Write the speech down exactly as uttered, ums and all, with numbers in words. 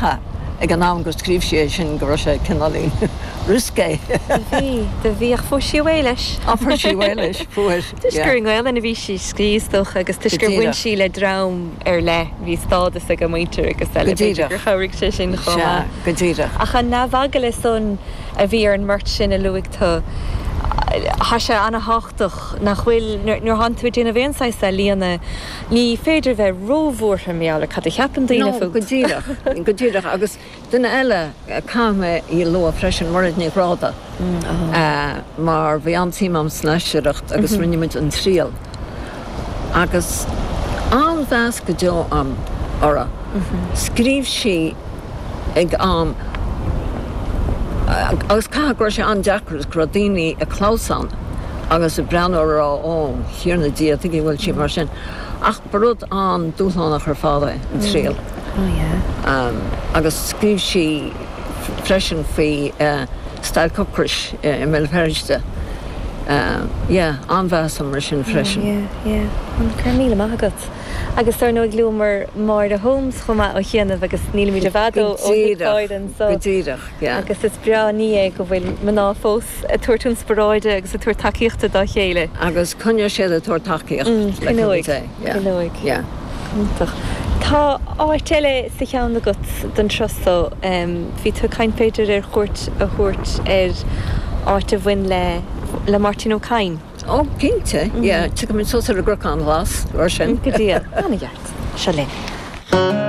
Caithfidh ag an am gur scríobh sí é sin go raibh sé cineáilín risqué. Bhí do bhí ach fuair sí away leis. Á fuair sí away leis fuair. Toisc gur i nGaelainn a bhí sí ag scríobh is dócha agus toisc gur bhain sí le dream ar leith bhí stádas ag a muintir agus eile Go díreach. gur chabhraigh sé sin chomh maith. Go díreach. Ach an neamheagla san a bhí ar an mbeirt sin a luaigh tú Tá sé an-tábhachtach nach bhfuil nuair atánn tú ag déanamh aon saghas ealaíona ní féidir bheith róbhuartha mar gheall ar cad a cheapann daoine No, fút. go díreach go díreach agus duine eile caithfidh mé í a lua freisin Mairéad Ní Ghráda mar bhí an-suim agam san aisteoireacht agus rinne muid an triail. Agus an-mheas go deo agam uirthi. Scríobh sí ag am agus caithfidh go raibh sé an-deacair go raibh daoine ag clamhsán agus ag breathnú ag rá ó Thiarna Dia tuige bhfuil sí mar sin. Ach ba rud an-dúshlánach ar fad é an triail. Oh yeah. Um, agus scríobh sí freisin faoi uh, stailc ocrais uh, i mBéal Feirste. Uh, yeah, an-mheas mar sin freisin. Yeah, yeah. An cur míle maith agat. Agus ar ndóigh luamar Máire Holmes chomh maith ó chianaibh agus nílimid i bhfad ó Go an so. Go díreach, yeah. Agus is breá ní é go bhfuil mná fós ag tabhairt inspioráide agus ag tabhairt tacaíochta dá chéile. Agus coinneoidh siad ag tabhairt tacaíocht Coinneoidh. Coinneoidh. Yeah. Iontach. Tá áit eile sa cheann agat don turas seo bhí tú ag caint b'fhéidir ar chuairt a thabhairt ar áit a bhain le le Máirtín Ó Cadhain. Ó cinnte, yeah, Tiocfaimid suas ar an gCnocán Glas mar sin. Go dtí an-cheart. Seo linn.